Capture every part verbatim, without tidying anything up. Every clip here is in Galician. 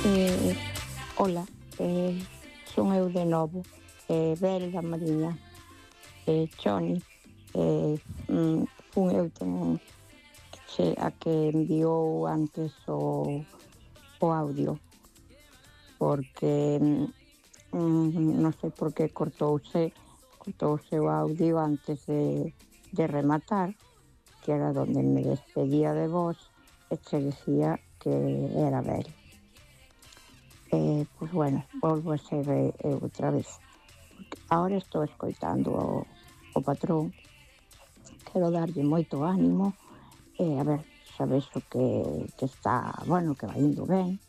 Eh, ola, eh, son eu de novo, eh, Bel da Mariña, eh, Choni, eh, mm, fun eu tamén che, a que enviou antes o, o audio, porque mm, non sei por que cortouse, cortouse o audio antes de, de rematar, que era donde me despedía de vos e che decía que era Bel. Eh, pois bueno, volvo a ser eu outra vez. Ahora estou escoitando o, o patrón, quero darlle moito ánimo, e a ver, sabes o que, que está, bueno, que vai indo ben,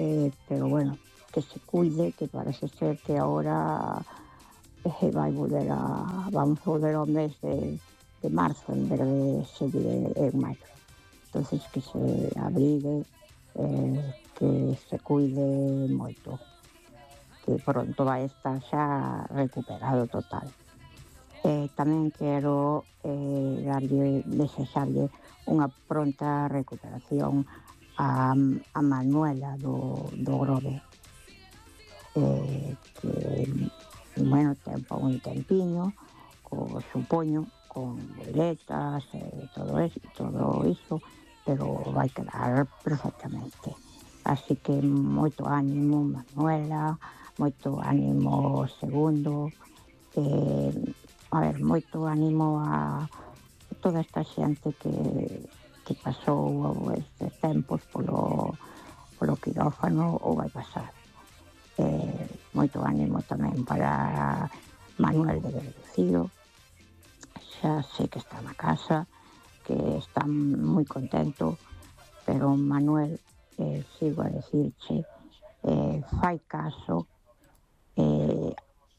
eh, pero bueno, que se cuide, que parece ser que ahora eh, vai volver a, vamos a volver ao mes de, de marzo en vez de seguir en maio. Entonces que se abrigue, eh, que se cuide moito, que pronto vai estar xa recuperado total. Eh, tamén quero eh, darlle, desexarlle unha pronta recuperación a, a Manuela do, do Grove, eh, que, bueno, ten un tempiño, co, supoño, con boletas e eh, todo, eso, todo iso, pero vai quedar perfectamente. Así que moito ánimo, Manuela, moito ánimo segundo, eh, a ver, moito ánimo a toda esta xente que, que pasou estes tempos polo, polo quirófano ou vai pasar. Eh, moito ánimo tamén para Manuel de Verducío, xa sei que está na casa, que está moi contento, pero Manuel, eh, sigo a decirche, eh, fai caso, eh,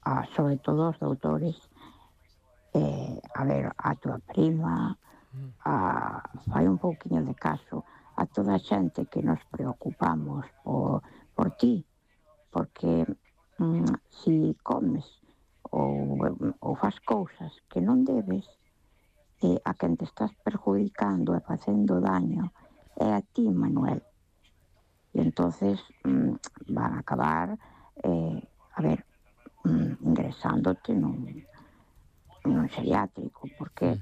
a, sobre todo os doutores, eh, a ver, a tua prima, a, fai un pouquiño de caso a toda a xente que nos preocupamos por, por ti, porque mm, si comes ou, ou fas cousas que non debes, eh, a quen te estás perjudicando e facendo daño é a ti, Manuel. E entonces mmm, van a acabar, eh, a ver, mmm, ingresándote nun, nun geriátrico, porque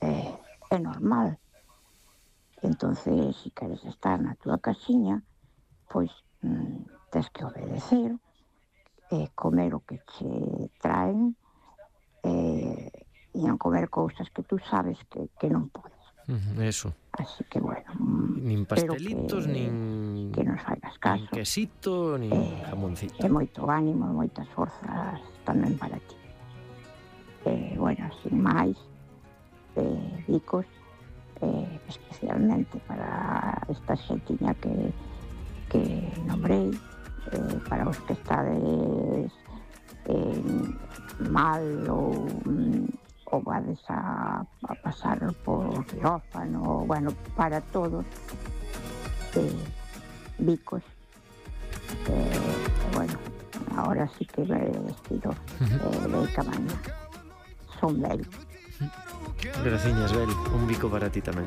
eh, é normal. Entonces, se si queres estar na túa casiña, pois mmm, tes que obedecer, eh, comer o que che traen, eh, e non comer cousas que tú sabes que, que non podes. Uh, eso. Así que, bueno, nin pastelitos, que, nin que nos faigas caso. Nin quesito, nin eh, jamoncito. E moito ánimo, moitas forzas tamén para ti. Eh, bueno, sin máis, eh, Vicos, eh, especialmente para esta xentiña que, que nombrei, eh, para os que estades eh, mal ou ou vades a, a pasar por quirófano, bueno, para todos, eh, Vicos, eh, bueno, ahora sí que me despido eh, de Camaña, son Bel. Graciñas, Bel, un bico para ti tamén.